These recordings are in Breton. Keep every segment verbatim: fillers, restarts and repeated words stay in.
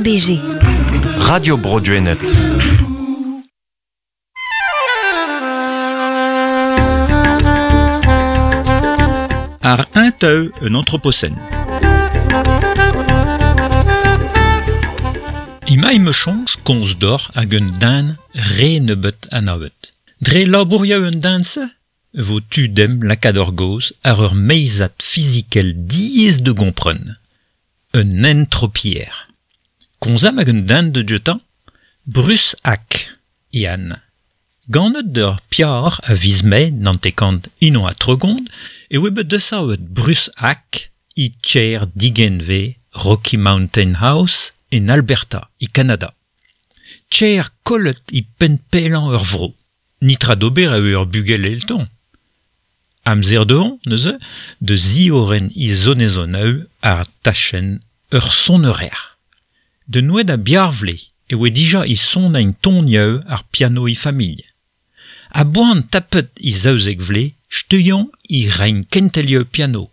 R B G. Radio Bro Gwened. Ar un teu un anthropocène. Ima me chonj konz d'or hag un dan re nebeut anavet. Dre labouria un danse vo tu dem lakad ur goz ar ur meizad fizikel diez de gompren. Un entropier. Konzam hag un dan de jetan Bruce Hack, Ian. Ganet d'ur piar a viz mae nantekant inon a tregont e oe bet desavet Bruce Hack i tcher digenve Rocky Mountain House en Alberta, i Canada. Tcher kollet i pen pelan ur vro. Nitra d'ober a ur bugel elton. Amzer dehon, neuze, de zioren i zonezon a eu ar tachen ur sonnerer. De noued a biarvle e oe dija i son ein ton ieu ar piano i famille. A boan tapet i zaouzek vle, steuion i rein kentelieu piano.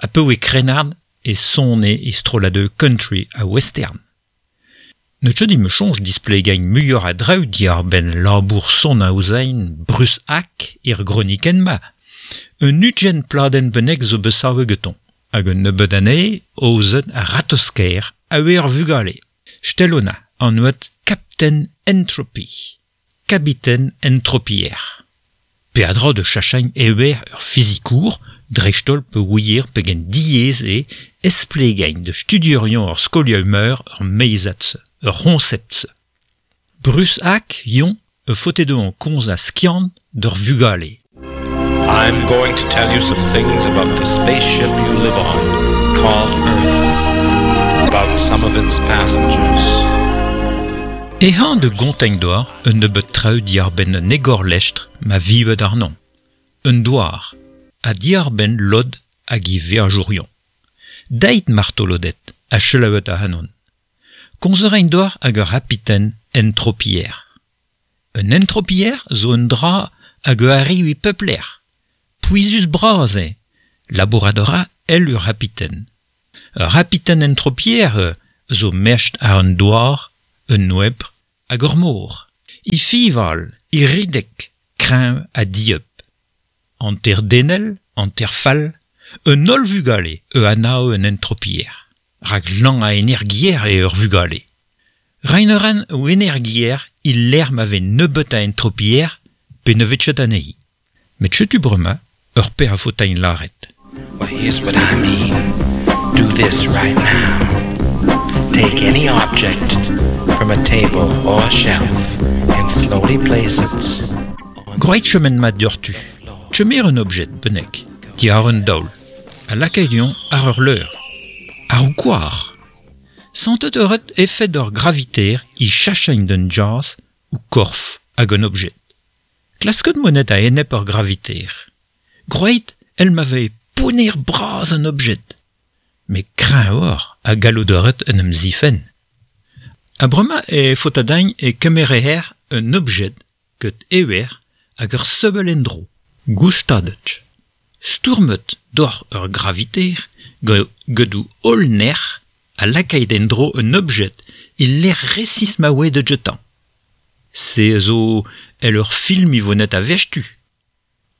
A peu e krenard e sonne i strolade country a western. Ne tchedi me chonj displegain muior a draou diar ben labour son a ouzain Bruce Hack ir groniken ma. Un ugen pladen benek zo besawe geton. Hag un nebeud anezhe ozet a ratosker a ur vugale. Stelona an oet Captain Entropy. Capitaine Entropier. Peadra de chachain ewer ur fizikour, dreistol pe ouier pegen diez e esplegain de studiorion ur skoliaumeur ur meizatse, ur ronceptse. Bruce Hack yon e fote de an konz a skiant d'ur vugale. I'm going to tell you some things about the spaceship you live on, called Earth, about some of its passengers. Ehan de gontegn doar un nebeut traoù diar ben un egor lestr ma vivet ar non. Un doar, a diar ben lod hag i verjourion. Deit martolodet a chelaouet a hanon. Konzerain doar hag ur hapiten entropier. Un entropier zo un dra hag ur arriu i peupler. Pouizus bras e, laboradora el ur hapiten. Ur hapiten entropier zo mesht ar un doar, un oebr hag ur mor. I fival, i ridek, kreñv ha dieub. An ter denel, an ter fall, un holl vugale e anao un entropier. Rak lan a energier e ur vugale. Reineran o energier il l'air m'ave nebeut a entropier pe ne vet anezhi. Met chetu brema ur per a fotain laret. Well, here's what I mean. Do this right now. Take any object from a table or a shelf and slowly place it. Groeit chemen mat diortu. Chemer un objet, benek, ti ar un daol. A lakaidion ar ur leur. Ar ou koar. Santet euret effet d'ur graviter i chachain d'un jazz ou korf hag un objet. Klasket monet a enep ur graviter. Groeit, el m'avait poner bras un objet. Me kreñv or a gallouderet un em zifen. A brema e fotadain e kemereher un objet ket ewer hag ur seubel endro, goustadet. Stourmet d'or ur graviter gedou holl ner a lakaet endro un objet il l'air resis ma oe de jetan. Se zo el ur film i vonet a vestu.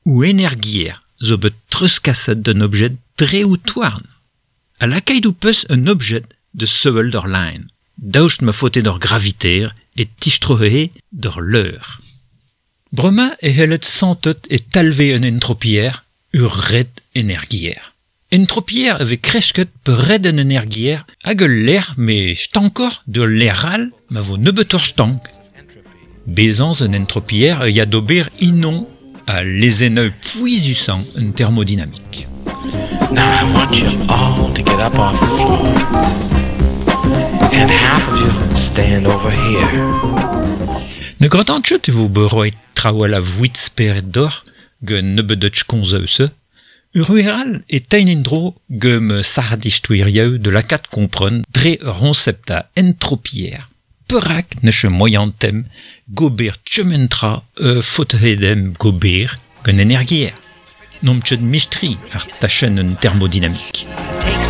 Ou energier zo bet treuzkaset d'un objet dre ou toarn. A lakaet ou peus un objet de sevel d'ur line. Daoust ma fote d'ur graviter e tistrohe d'ur leur. Brema e hellet santet e talve un entropier ur red energier. Entropier ave kresket pe red un energier hag ul l'air me stankor de l'air al ma vo nebeut ur stank. Bezans un entropier e ya d'ober inon a lezeneu pouizusan un thermodynamique. Now I want you all to get up off the floor. And half of you stand over here. Ne gratant chet e vo beroet traoù a vouit speret d'or ge nebeut konzeuse, ur ueral e tein endro ge me sardistouirieu de lakat kompren dre ur roncepta entropier. Perak ne che moyan tem gober tchementra e fothedem gober gant energier. Nom chet mistri ar tachen un thermodynamique.